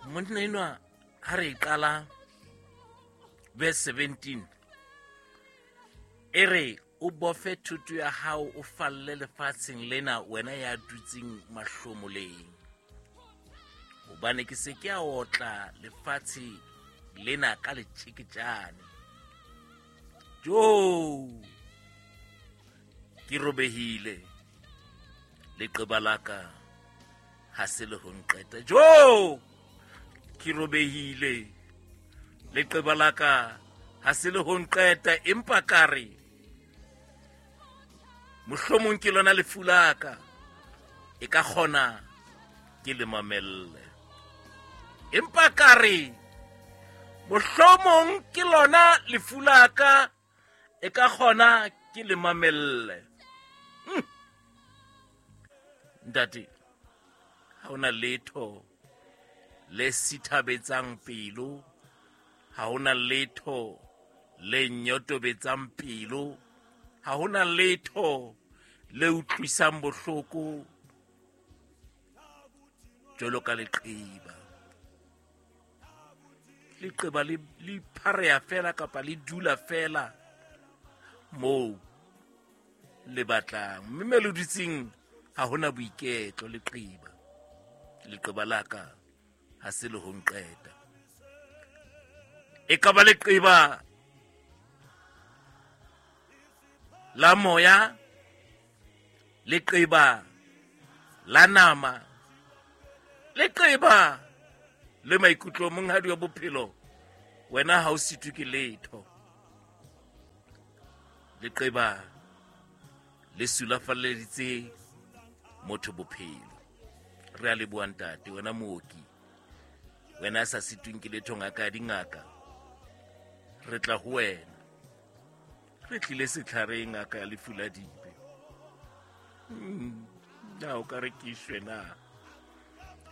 Monna enwa ha re e qala verse 17 e re o bofe thoto ya hao o falle lefatsheng lena wena ya dutseng mahlomoleng, hobane ke se ke a otla lefatshe lena ka letjeketjane. Jo, ke robehile, leqeba la ka ha se le ho nqeta. Jo, ke robehile, leqeba la ka ha se le ho nqeta, empa ka re mohlomong ke lona lefu la ka, e ka kgona ke le mamelle. Empa ka re mohlomong ke lona lefu la ka, e ka kgona ke le mamelle. Ntate, ha hona letho le sithabetsang pelo, ha hona letho le nyotobetsang pelo, ha hona letho le utlwisang bohloko jwalo ka leqeba. Leqeba le phareha fela kapa le dula fela moo le batlang, mme me le dutseng ha hona boiketlo. Leqeba, leqeba la ka ha se le ho nqeta. E ka ba leqeba la moya, leqeba la nama, leqeba le maikutlo. Monghadi wa bophelo, wena ha o sitwe ke letho. Leqeba le sulafalleditse motho bophelo. Re a leboha ntate, wena mooki, wena a sa sitweng ke letho, ngaka ya dingaka. Re tla ho wena, re tlile setlhareng, ngaka ya lefu la dibe. Na o ka re ke shwe na?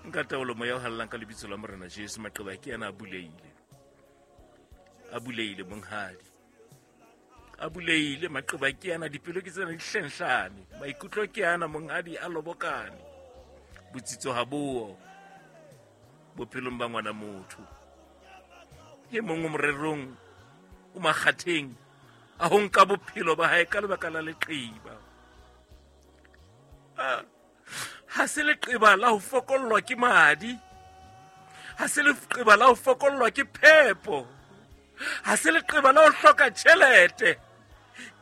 Nka taolo moya o hallang ka lebitso la Morena Jesu. Maqeba ke yana a buleile, a buleile monghadi, a buleile. Maqeba ke yana, dipelo ke tsena di hlenhlane, maikutlo ke yana monghadi a lobokane. Botsitso ha boo bophelong ba ngwana motho. E mong o morerong, o makgatheng a ho nka bophelo ba hae ka lebaka la leqeba. Ha se leqeba la ho fokollwa ke madi, ha se leqeba la ho fokollwa ke phepo, ha se leqeba la ho hloka tjhelete,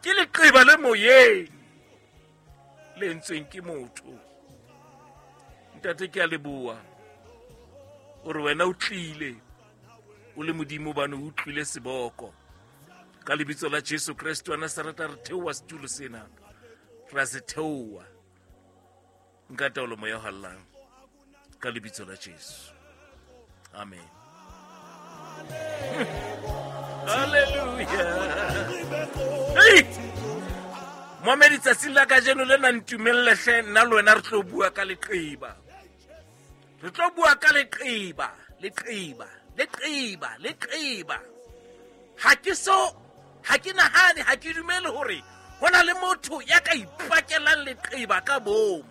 ke leqeba le moyeng le entsweng ke motho. Ntate, ke a leboha o re wena o tlile o le Modimo, bane o utlwile seboko. Ka lebitso la Jesu Kreste wa Nazareta, re theoha setulo sena, ra se theoha. Nka taolo moya o hallang ka lebitso la Jesu, amen. Halleluja. Hey! Momedi, tsatsing la kajeno le na ntumelle hle, nna le wena re tlo bua ka leqeba, re tlo bua ka leqeba, leqeba, leqeba, leqeba. Ha ke so, ha ke nahane, ha ke dumele hore ho na le motho ya ka ipakelang leqeba ka bomo.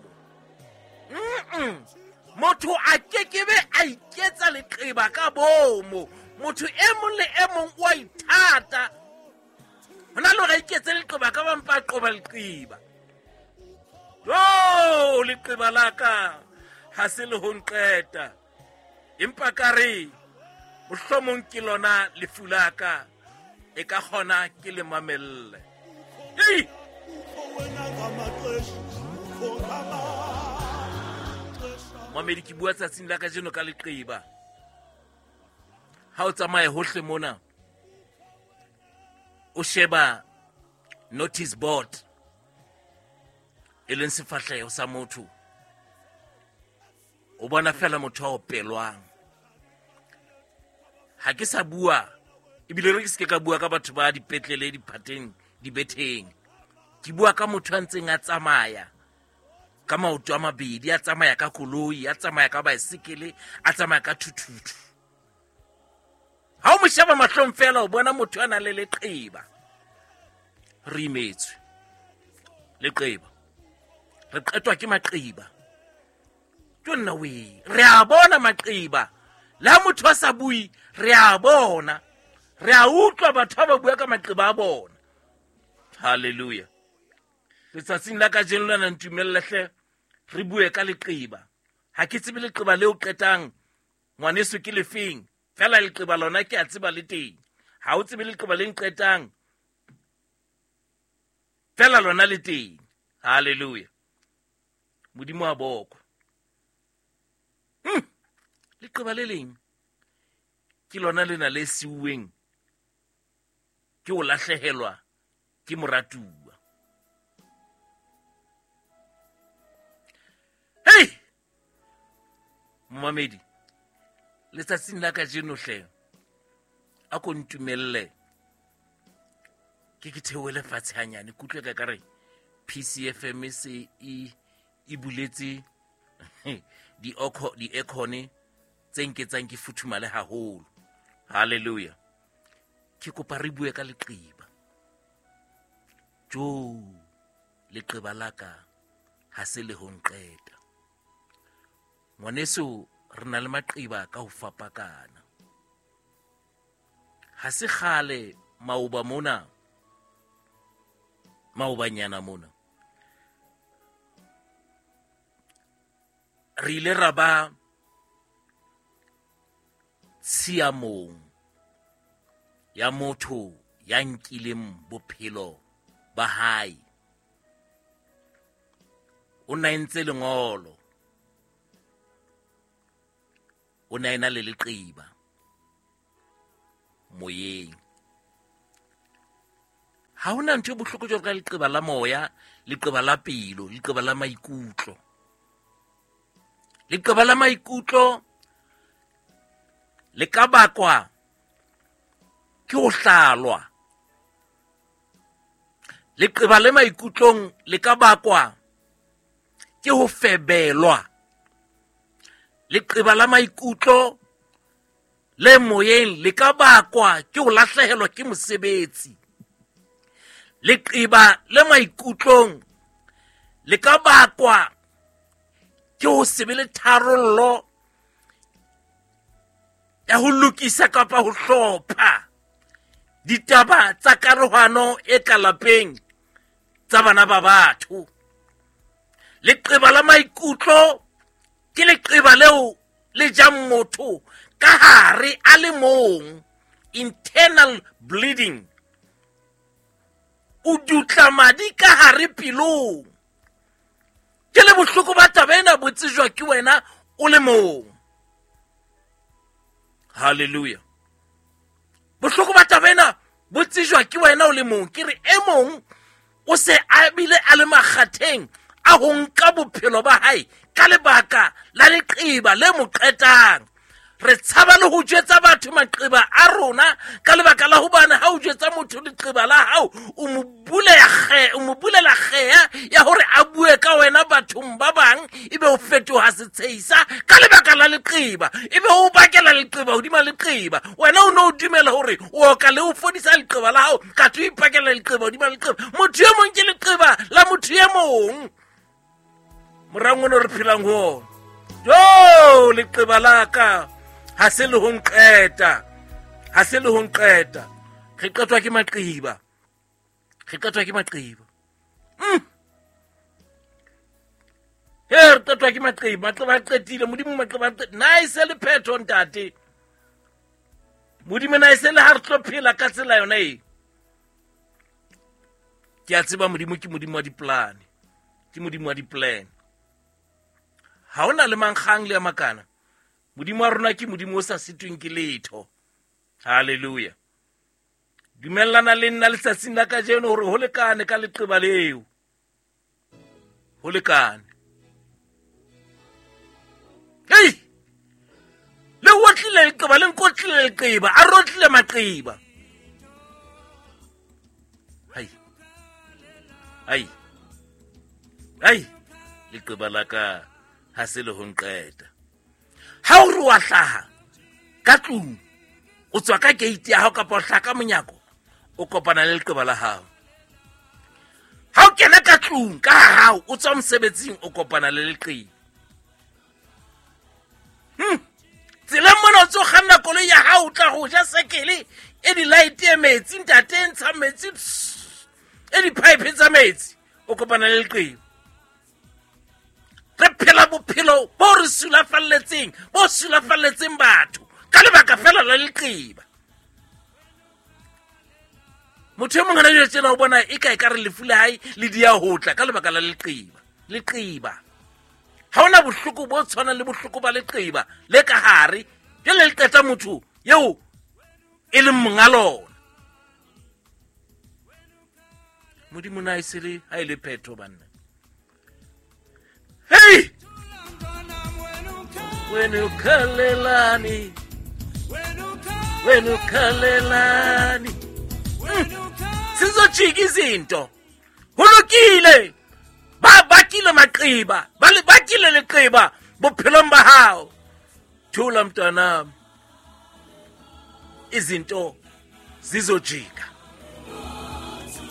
Motho a kekebe a iketsa leqeba ka bomo. Motho e mong le e mong o a ithata. Ho na le hore a iketse leqeba ka bampa a qoba leqeba. Jo, leqeba la ka ha se le ho nqeta, empa ka re mohlomong ke lona lefu la ka, e ka kgona ke le mamelle. Ei! Mamedi, ke bua tsatsing la kajeno ka leqeba. Ha o tsamaye hohle mona, o sheba notice board, e leng sefahleho sa motho, o bona fela motho a opelwang. Ha ke sa bua, ebile re ke se ke ka bua ka batho ba dipetlele, diphateng, dibetheng. Ke bua ka motho a ntseng a tsamaya ka maoto a mabedi, a tsamaya ka koloi, a tsamaya ka baesekele, a tsamaya ka thuthuthu. Ha o mo sheba mahlong fela, o bona motho a nang le leqeba. Re imetswe leqeba, re qetwa ke maqeba. Ke nna we re a bona maqeba. Le ha motho a sa bue, re a bona, re a utlwa batho ha ba bua ka maqeba a bona. Halleluja. Letsatsing la kajeno lena ntumelle hle re bue ka leqeba. Ha ke tsebe leqeba leo qetang ngwaneso ke lefeng, fela leqeba lona ke a tseba le teng. Ha o tsebe leqeba le nqetang, fela lona le teng. Halleluja. Modimo a bokwe. Leqeba le leng ke lona lena le siuweng ke ho lahlehelwa ke moratuwa. Hei momamedi, letsatsing la kajeno hle a ko ntumelle ke theohele fatshe hanyane, ke utlwe ka kare PCFM se e buletse di-aircon tse nketsang ke futhumale haholo. Halleluja. Ke kopa re bue ka leqeba. Jo, leqeba la ka ha se le ho nqeta. Ngwaneso, re na le maqeba ka ho fapakana. Ha se kgale maoba mona, maobanyana mona, re ile ra ba tshiamong ya motho ya nkileng bophelo ba hae. O na entse lengolo, o na ena le leqeba moyeng. Ha hona ntho e bohloko jwalo ka leqeba la moya, leqeba la pelo, leqeba la maikutlo. Leqeba la maikutlo le ka bakwa ke ho hlalwa. Leqeba le maikutlong le ka bakwa ke ho febelwa. Leqeba la maikutlo le moyeng le ka bakwa ke ho lahlehelwa ke mosebetsi. Leqeba le maikutlong le ka bakwa ke ho se be le tharollo ya ho lokisa kapa ho hlopha ditaba tsa karohano e ka lapeng tsa bana ba batho. Leqeba la maikutlo ke leqeba leo le jang motho ka hare a le mong, internal bleeding. O dutla madi ka hare pelong. Ke le bohloko ba taba ena bo tsejwa ke wena o le mong. Halleluja. Bohloko ba taba ena bo tsejwa ke wena o le mong. Ke re e mong o se a bile a le makgatheng a ho nka bophelo ba hae ka lebaka la leqeba le mo qetang. Re tshaba le ho jwetsa batho maqeba a rona ka lebaka la hobane ha o jwetsa motho leqeba la hao, o mo bulela kgeya ya hore a bue ka wena bathong ba bang, ebe o fetoha setshehisa ka lebaka la leqeba, ebe o bakela leqeba hodima leqeba. Wena o no dumela hore o oka le o fodisa leqeba la hao, ka o ipakela leqeba hodima leqeba. Motho e mong ke leqeba la motho e mong. Morang ono re phelang ho ona. Jo, leqeba la ka ha se le ho nqeta, ha se le ho nqeta. Re qetwa ke maqeba, re qetwa ke maqeba. He, re qetwa ke maqeba, maqeba a qetile, Modimo maqeba a qetile. Na e se le phetho ntate? Modimo na e se le ha re tlo phela ka tsela yona e? Ke a tseba Modimo ke Modimo wa dipolane, ke Modimo wa di-plan. Ha hona le mankgang le a makana. Modimo wa rona ke Modimo o sa sitweng ke letho. Halleluja. Dumellana le nna letsatsing la kajeno hore ho lekane ka leqeba leo. Ho lekane. Hei! Le otlile leqeba, le nkotlile leqeba, a rotlile maqeba. Hai. Hai. Hai. Leqeba la ka ha se le ho nqeta. Ha o re wa hlaha ka tlung, o tswa ka gate ya hao kapa o hlaha ka monyako, o kopana le leqeba la hao. Ha o kena ka tlung ka hao, o tswa mosebetsing, o kopana le leqeba. Tseleng mona o tso koloi ya hao o tla go ja sekele e di-light e metsi ntate e ntshang metsi e di-pipe tsa metsi o kopana le leqeba. Re phela bophelo bo re sulafalletseng, bo sulafalletseng batho ka lebaka fela la leqeba. Motho e mong hana jwale tjena o bona e ka e ka re lefu la hae le di ya ho tla ka lebaka la leqeba. Leqeba ha hona bohloko bo tshwanang le bohloko ba leqeba le ka hare, jwale le qeta motho eo e leng monga lona. Modimo na e sele ha e le phetho banna. Hey! Wena ukhalelani, wena ukhalelani. Sizojika izinto. Ho lokile. Ba bakile maqeba, ba le bakile leqeba bophelong ba hao. Thula mntanami, izinto zizojika.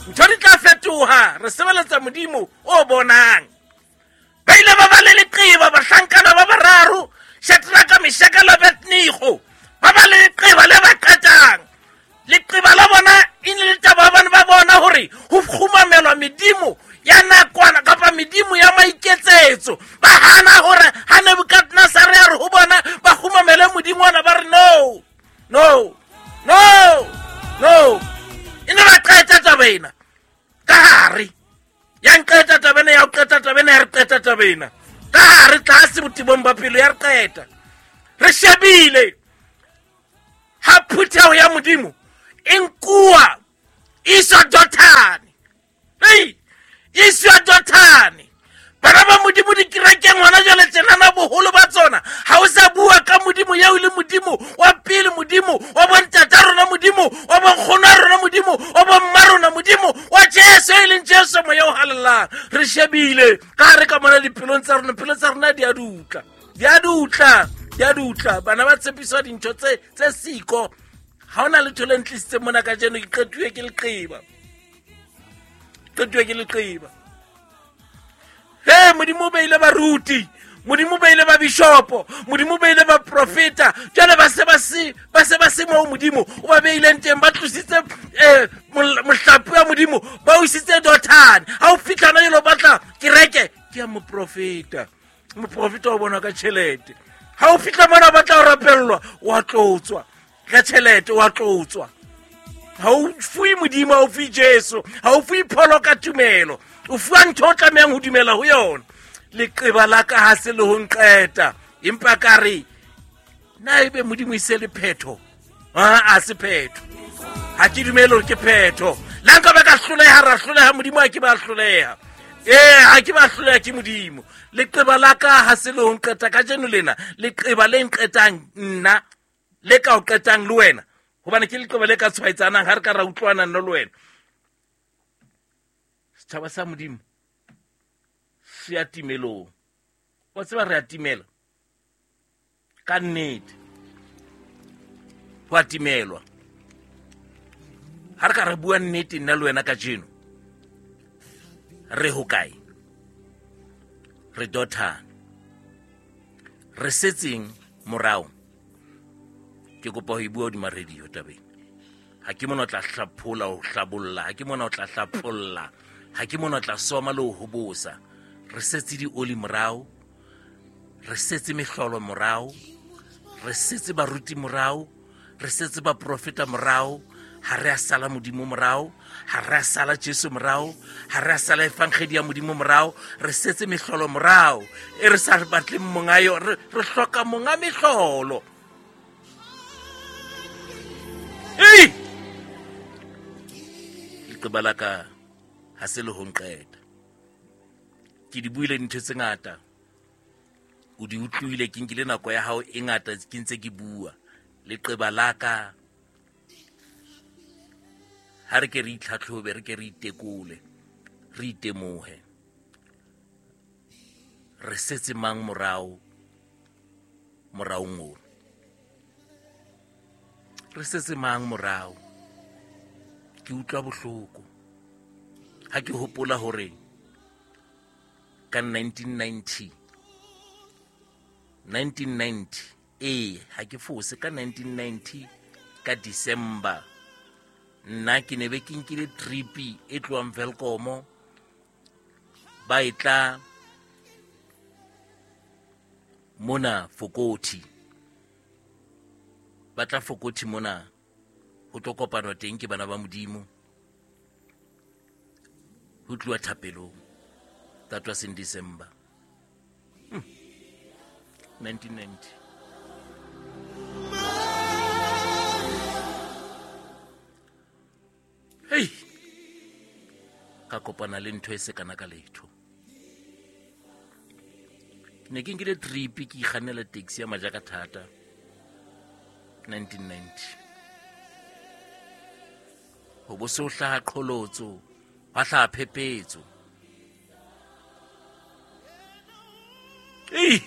Ntho di tla fetoha. Re sebeletsa Modimo o bonang. Ba ile ba ba le leqeba bahlankana ba bararo, Shadraka, Meshaka le Abednego. Ba ba le leqeba le ba qetang. Leqeba la bona e ne le taba ba ne ba bona hore ho kgumamelwa medimo ya nakwana kapa medimo ya maiketsetso. Ba hana hore ha Nebukadnezare a re ho bona ba kgumamele modimo ona, ba re no, no, no, no. E ne ba qeta taba ena ka hare. Ya nqeta taba ena, ya o qeta taba ena, ya re qeta taba ena ka hare tlase botebong ba pelo, ya re qeta. Re shebile ha phutheho ya Modimo e nkuwa iswa Dothane. Ei, iswa Dothane. Bana ba Modimo dikerekeng hona jwale tjenana boholo ba tsona ha o sa bua ka Modimo eo e le Modimo wa pele, Modimo wa bontata rona, Modimo wa bonkgono a rona, Modimo wa bomma rona, Modimo wa Jesu e leng Jesu moya o halalelang. Re shebile ka hare ka mona dipelong tsa rona, pelo tsa rona di a dutla, di a dutla, di a dutla. Bana ba tshepiswa dintho tse siko. Ha hona letho le ntlisitseng mona kajeno, ke qetuwe ke leqeba, qetuwe ke leqeba. He, Modimo o beile baruti, Modimo o beile ba bishopo, Modimo o beile ba profeta. Jwale ba se ba se, ba se ba se moo Modimo o ba beileng teng, ba tlositse mohlape wa Modimo, ba o isitse Dothane. Ha o fihla hona jwale o batla kereke, ke ya moprofeta. Moprofeta o bonwa ka tjhelete. Ha o fihla mona o batla ho rapellwa, wa tlotswa ka tjhelete, wa tlotswa. Ha o fuwe Modimo, ha o fuwe Jesu, ha o fuwe pholo ka tumelo, o fuwa ntho o tlamehang ho dumela ho yona. Leqeba la ka ha se le ho nqeta, empa ka re na ebe Modimo e se le phetho? A se phetho. Ha ke dumele hore ke phetho. Le ha nka ba ka hloleha, ra hloleha, Modimo ha ke ba hloleha. Ee, ha ke ba hloleha ke Modimo. Leqeba la ka ha se le ho nqeta kajeno lena, leqeba le nqetang nna, le ka o qetang le wena, hobane ke leqeba le ka tshwaetsanang ha re ka ra utlwana nna le wena. Setjhaba sa Modimo se ya timelong. Wa tseba re a timela ka nnete, ho a timelwa. Ha re ka re bua nnete nna le wena kajeno, re hokae? Re Dothane. Re setseng morao. Ke kopa ho e bua hodima radio tabeng. Ha ke mona o tla hlaphola ho hlabolla, ha ke mona o tla hlapholla, ha ke mona o tla soma le ho hobosa. Re setse dioli morao, re setse mehlolo morao, re setse baruti morao, re setse baprofeta morao. Ha re a sala Modimo morao, ha re a sala Jesu morao, ha re a sala evangedi ya Modimo morao, re setse mehlolo morao e re sa batleng monga yo, re hloka monga mehlolo. Ei! Leqeba la ka ha se le ho nqeta. Ke di buile dintho tse ngata, o di utlwile, ke nkile nako ya hao e ngata ke ntse ke bua. Leqeba la ka ha re ke re itlhatlhobe, re ke re itekole, re itemohe. Re setse mang morao moraong ono? Re setse mang morao? Ke utlwa bohloko ha ke hopola hore ka 1990, Ee, ha ke fose, ka 1990 ka December nna ke ne be ke nkile tripi e tlohang Welkomo ba e tla mona Fokothi, ba tla Fokothi mona ho tlo kopanwa teng ke bana ba Modimo, ho tluwa thapelong. That was in December 1990. Hei, ka kopana le ntho e se kana ka letho. Ke ne ke nkile trip, ke ikgannela taxi ya majaka thata 1990. Ho bo se ho hlaha qholotso, hwa hlaha phephetso. Ei!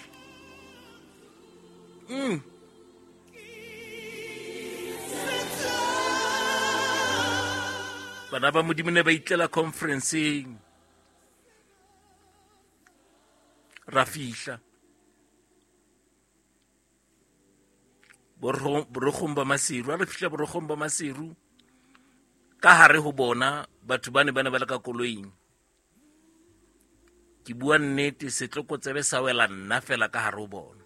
Bana ba Modimo ne ba itlela conferenceng. Ra fihla borogong ba Maseru. Ha re fihla borogong ba Maseru, ka hare ho bona batho ba ne ba ne ba le ka koloing. Ke bua nnete, setlokotsebe sa wela nna fela ka hare ho bona.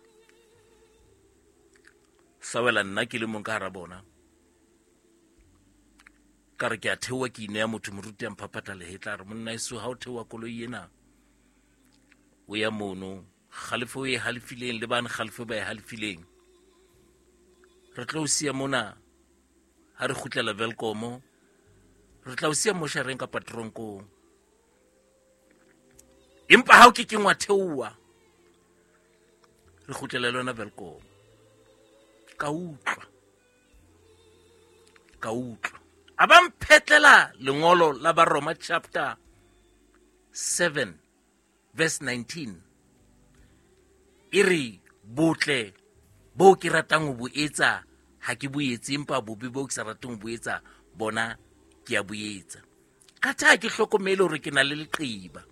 Sa wela nna ke le mong ka hara bona. Ka re ke a theoha, ke ineya motho, moruti a mphaphatha lehetla, a re monna eso ha o theoha koloi ena o ya mono, kgalefo e halefileng le bane kgalefo ba e halefileng, re tlo o siya mona ha re kgutlela Welkomo, re tla o siya moshareng kapa tronkong. Empa ha o ke keng wa theoha, re kgutlela le yona Welkomo. Ka utlwa, ka utlwa a ba mphetlela lengolo la Baroma chapter 7 verse 19, e re botle bo ke ratang ho bo etsa ha ke bo etse, empa bobe bo ke sa rateng ho bo etsa bona ke a bo etsa. Ka tha ke hlokomele hore ke na le leqeba.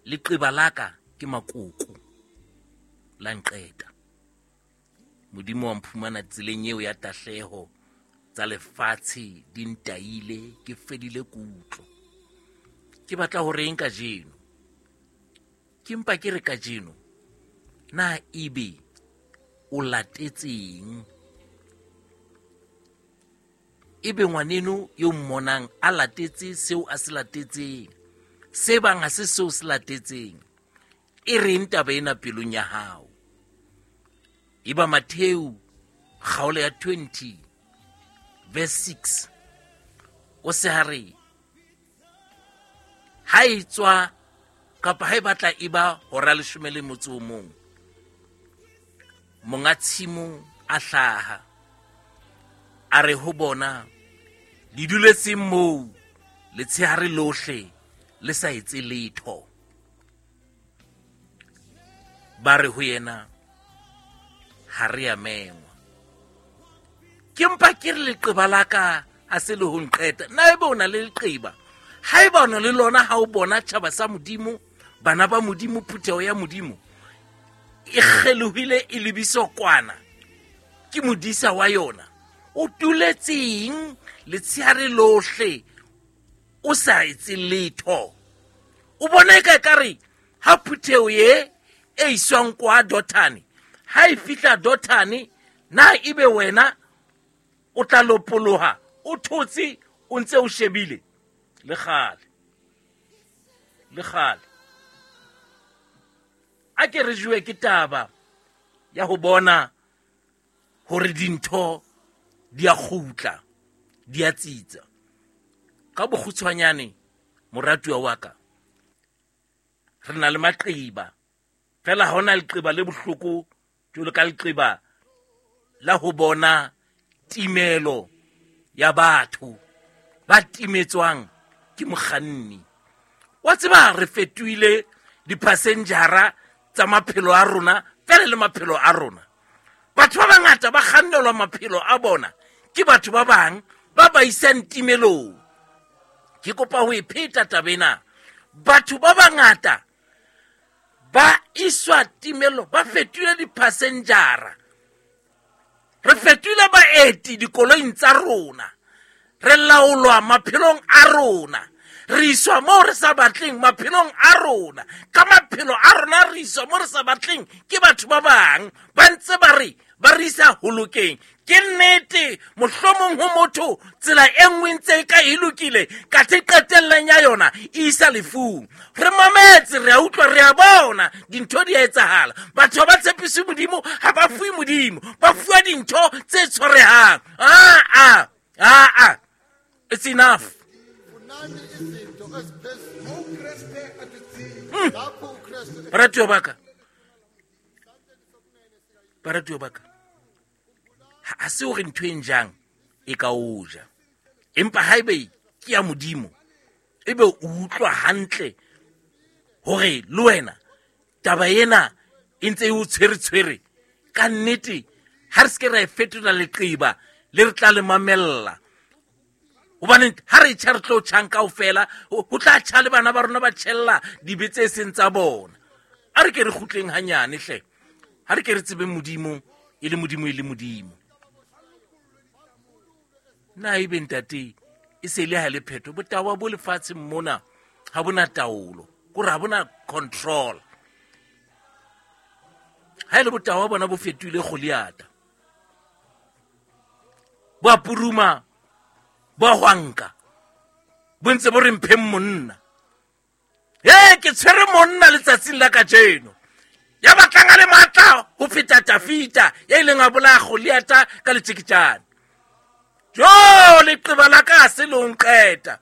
Leqeba la ka ke makoko, la nqeta. Modimo wa mphumana tseleng eo ya tahleho, tsa lefatshe di ntaile, ke fedile kutlo. Ke batla ho reng kajeno? Ke mpa ke re kajeno, na ebe o latetseng? Ebe ngwaneno yo mmonang a latetse seo a se latetseng, se bang ha se seo se latetseng, e reng taba ena pelong ya hao? Eba Mattheu kgaolo ya 20 verse 6, o se ha re ha e tswa kapa ha e batla e ba hora leshome le motso o mong, monga tshimo a hlaha a re ho bona, le duletseng moo letshehare lohle le sa etse letho? Ba re ho yena, ha re a mengwa. Ke mpa ke re leqeba la ka ha se le ho nqeta. Na ebe o na le leqeba? Haeba o na le lona, ha o bona tjhaba sa Modimo, bana ba Modimo, phutheho ya Modimo e kgelohile e lebiswa kwana ke modisa wa yona, o tuletseng letshehare lohle o sa etse letho? O bona e ka ekare ha phutheho ye e iswang kwa Dothane, ha e fihla Dothane, na ebe wena o tla lopoloha o thotse o ntse o shebile? Le kgale, le kgale. A ke re jowe ke taba ya ho bona hore dintho di a kgutla, di a tsitsa. Ka bokgutshwanyane, moratuwa wa ka, re na le maqeba, fela ha hona leqeba le bohloko jwalo ka leqeba la ho bona timelo ya batho ba timetswang ke mokganni. Wa tseba re fetohile di-passenjara tsa maphelo a rona fela le maphelo a rona. Batho ba bangata ba kgannelwa maphelo a bona ke batho ba bang ba ba isang timelong. Ke kopa ho e pheta taba ena. Batho ba bangata ba iswa timelo, ba fetohile di-passenjara. Re fetohile baeti dikoloing tsa rona. Re laolwa maphelong a rona. Re iswa moo re sa batleng maphelong a rona. Ka maphelo a rona re iswa mo re sa batleng ke batho ba bang. Ba ntse ba re ba re isa ho lokeng. Ke nnete, mohlomong ho motho tsela e nngwe ntse e ka e lokile, kathe qetelleng ya yona e isa lefung. Re mametse, re a utlwa, re a bona dintho di a etsahala. Batho ha ba tshepise Modimo, ha ba fuwe Modimo, ba fuwa dintho tse tshwarehang. Aa, aa, it's enough. Baratuwa ba ka, baratuwa ba ka, ha se hore ntho e njang e ka o ja, empa haebe ke ya Modimo, ebe o utlwa hantle hore le wena taba ena e ntse e o tshwere-tshwere, ka nnete ha re se ke ra e fetola leqeba le re tla le mamella. Hobane ha re tjha re tlo tjhang kaofela, ho tla tjha le bana ba rona ba tjhella dibe tse seng tsa bona. A re ke re kgutleng hanyane hle. Ha re ke re tsebeng Modimo e le Modimo e le Modimo. Na ebe ntate e se le ha le phetho, botawa bo lefatsheng mona ha bona taolo, kore ha bona control. Ha e le botawa bona bo fetohile Goliata, bo a puruma, bo a hwanka, bo ntse bo re mpheng monna. Ee, ke tshwere monna letsatsing la kajeno ya batlang a le matla ho feta Tafita ya ileng a bolaya Goliata ka letjeketjane. Jo, leqeba la ka ha se le ho nqeta.